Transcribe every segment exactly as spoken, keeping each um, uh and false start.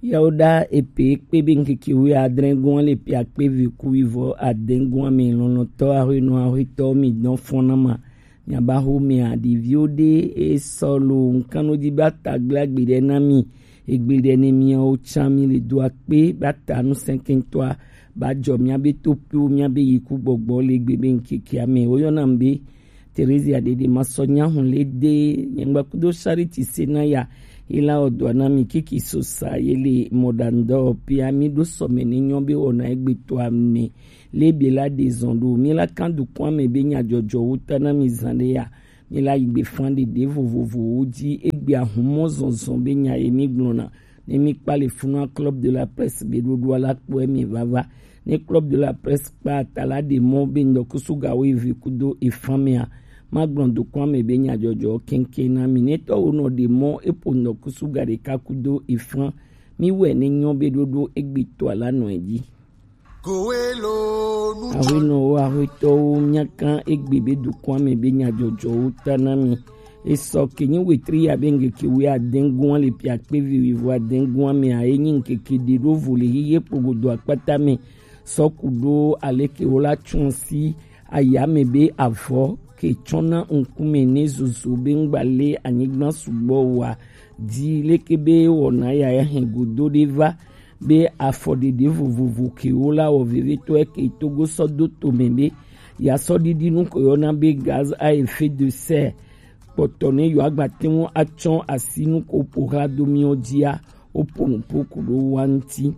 Yawo ɖa epe kpe be ŋkeke wuiadre gɔn le pe akpe vi ku wivɔ adɛn gɔn me lɔlɔtɔ ahwenɔ ahwetɔ mi dɔn fɔn na ma. Miaba ho mia ɖeviwo ɖe esɔ lo ŋkanodi ba ta gblagbe ɖe na mi. Egbe ɖe ne miawo tsa mi le do akpe ba ta nu sɛnkɛntɔa ba jɔ miabe topiwo miabe yiku gbɔgbɔ le gbe be ŋkekea me woyɔna mi be Theresia Dede Masɔ Nyahun le de nyɛngba kudo Charity Senaya ila odua na mi kiki sosa yele modando pia mi do sɔme ne nyɔ be ona egbe to ame le be la de zɔn do mi la kan du kwame be nya jɔjɔ wuta na mi zan de ya mi la yigbe fan de de vovovo wo ji egbe ahumɔ zɔnzɔn be nya ye mi gblɔna ne mi kpa le funa Club de la Presse be ɖoɖoa la kpɔ emi vava. Ne Club de la Presse kpa ata la ɖe mɔ be ŋdɔkusu ga wo eve kudo efan mea, magblɔ dokɔa me be nyadzɔdzɔ kɛnkɛn na mi. Netɔ wo nɔ ɖe mɔ eƒo ŋdɔkusu ga ɖeka kudo efan. Mi wɛ ne nyɔ be ɖoɖo egbetɔ la nɔ edzi. Ahuenɔwo, ahuetɔwo, miakan egbe be dokɔa me be nyadzɔdzɔwo ta na mi. Esɔ ke nyi wetri ya be ŋkeke wui adɛn gɔn le pia kpe vi wivɔ adɛn gɔn me a enyi ŋkeke ɖe ɖo vo le hihe kpogodo akpata me. Sɔ ku ɖo aleke wo la tsun si aya me be avɔ ke tsɔna ŋkume ne zozo be ŋgba le anyigba sugbɔ wa di leke be wɔna ya ya hɛn godo ɖe va be afɔɖeɖe vovovo ke wo la wɔ vevetɔ ke Togo sɔ do to me be ya sɔ ɖiɖi nu ko yɔna be gaz à effet de serre kpɔtɔ ne yewo agba te ŋu atsɔ asi nu ko ƒo hla do miwo dzia, woƒo nu ƒo ku ɖo wa ŋuti.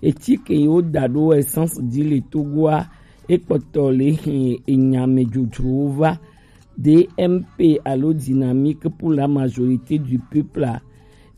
Eti ke yi woda ɖo essence dzi le Togoa, ekpɔtɔ le hɛn enya me dzodzrowo va. D M P alo Dynamique pour la majorité du peuple a,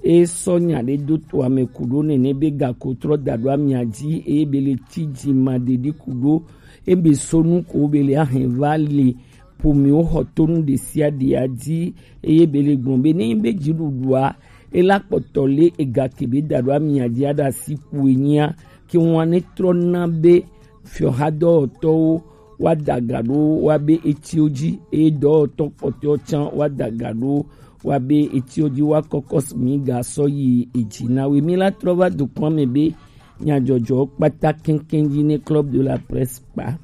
e sɔ nya ɖe do to ame ku ɖo nene be gako trɔ da ɖo amia dzi eye be le ti dzi ma ɖeɖi ku ɖo ebe sonu ko be le ahɛn va le ƒomiwo xɔtonu ɖesiaɖea dzi eye be le gblɔ be ne be dziɖuɖua ela kpɔtɔ le ega ke be da ɖo amia dzi aɖe asi ku enyia ke ŋua ne trɔ na be fiɔhadɔwɔtɔwo woada ga ɖo woabe etiwo dzi eye dɔwɔtɔ kpɔtɔewo tsã woada ga ɖo woabe etiwo dzi woakɔkɔ mi ga sɔ yi edzi na wo. Mi la trɔ va dukɔa me be nyadzɔdzɔwo kpata keŋkeŋ dzi ne Club de la Presse kpa.